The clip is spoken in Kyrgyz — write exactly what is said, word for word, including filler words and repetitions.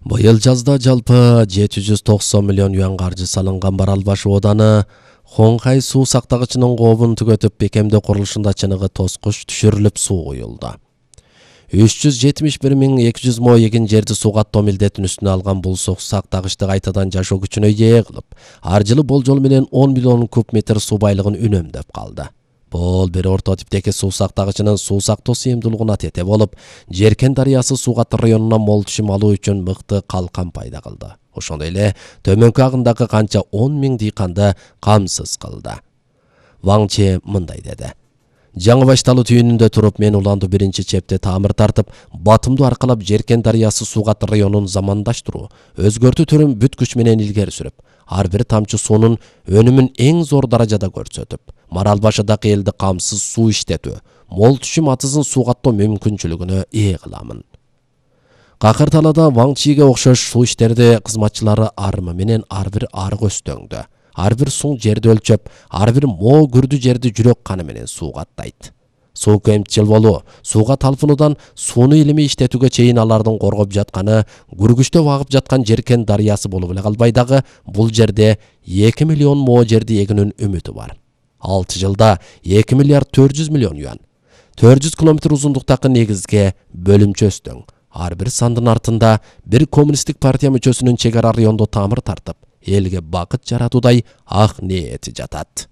Быйыл жазда жалпы жети жүз токсон миллион юан каржы салынган Марал баш ооданы Хоңхай суу сактагычынын кообун түгөтүп бекемдөө курулушунда чыныгы тоскуч түшүрүлүп суу куюлду. үч жүз жетимиш бир миң эки жүз мо эгин жерди суу каттоо милдетин үстүнө алган бул суу сактагычты кайтадан жашоо күчүнө ээ кылып, ар жылы болжол менен он миллион куб метр суу байлыгын үнөмдөп калды. Бул бир орто типтеги суу сактагычынын суу сактоо сыйымдуулугуна тете болуп, Жеркен дарыясы суу каты районуна мол түшүм алуу үчүн мыкты калкан пайда кылды. Ошондой эле төмөнкү агымдагы канча он миң дыйканды камсыз кылды. Ваң Че мындай деди: Жаңы Башталуу түйүнүндө туруп, мен уланды биринчи чепте тамыр тартып, батымды аркалап Жеркен дарыясы суу каты районун замандаштыруу, өзгөртүү түрүн бүт күч менен илгери сүрүп, ар бир тамчы суунун өнүмүн эң зор даражада көрсөтүп, Марал башыдагы элди камсыз суу иштетүү, мол түшүм атызын суу каттоо мүмкүнчүлүгүнө ээ кыламын. Какыр талаада Ваң Чиге окшош суу иштерди кызматчылары арымы менен ар бир арык өстөңдө, ар бир суң жерди өлчөп, ар бир мо күрдү жерди жүрөк каны менен суу каттайт. Суу кемчил болуу, сууга талпынуудан сууну илимий иштетүүгө чейин алардын коргоп жатканы, күргүчтөп агып жаткан Жеркен дарыясы болуп эле калбай дагы, бул жерде эки миллион мо жерди эгүүнүн үмүтү бар. алты жылда эки миллиард төрт жүз миллион юан. төрт жүз километр узундуктагы негизге бөлүмчө өстөң. Ар бир сандын артында бир коммунисттик партия мүчөсүнүн чек ара райондо тамыр тартып, элге бакыт жаратуудай ак ниети жатат.